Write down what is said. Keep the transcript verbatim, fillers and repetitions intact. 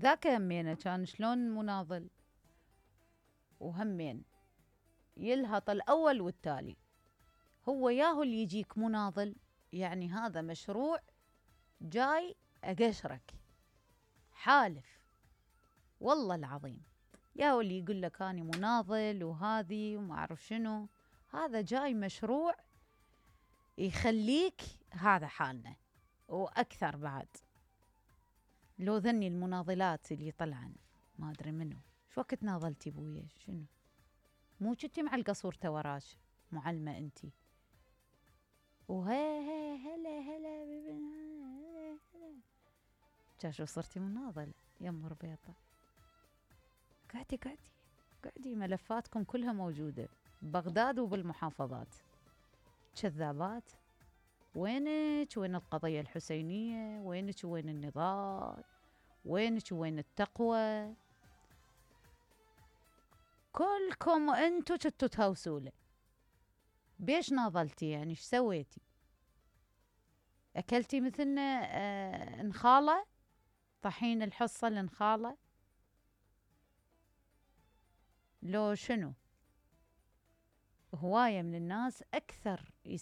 ذاك همينه كان شلون مناضل وهمين يلهط الأول والتالي. هو ياهو اللي يجيك مناضل يعني هذا مشروع جاي أقشرك، حالف والله العظيم. ياهو اللي يقول لك أنا مناضل وهذي وما أعرف شنو، هذا جاي مشروع يخليك هذا حالنا وأكثر بعد. لو ذني المناضلات اللي طلعن ما أدري منو، شو وقت ناضلتي بويا؟ شنو مو كنتي مع القصورته وراك معلمة انتي؟ وهي هي هلا هلا هلا هلا شو صرتي مناضلة يم ربيطة. قعدي قعدي قعدي، ملفاتكم كلها موجودة ببغداد وبالمحافظات. كذابات. وينك وين القضية الحسينية؟ وينك وين النضال؟ وينك وين التقوى؟ كلكم انتو كنتو تهوسوله. بيش ناضلتي يعني؟ ايش سويتي؟ اكلتي مثلنا آه نخاله؟ طحين الحصة النخاله لو شنو؟ هواية من الناس أكثر يست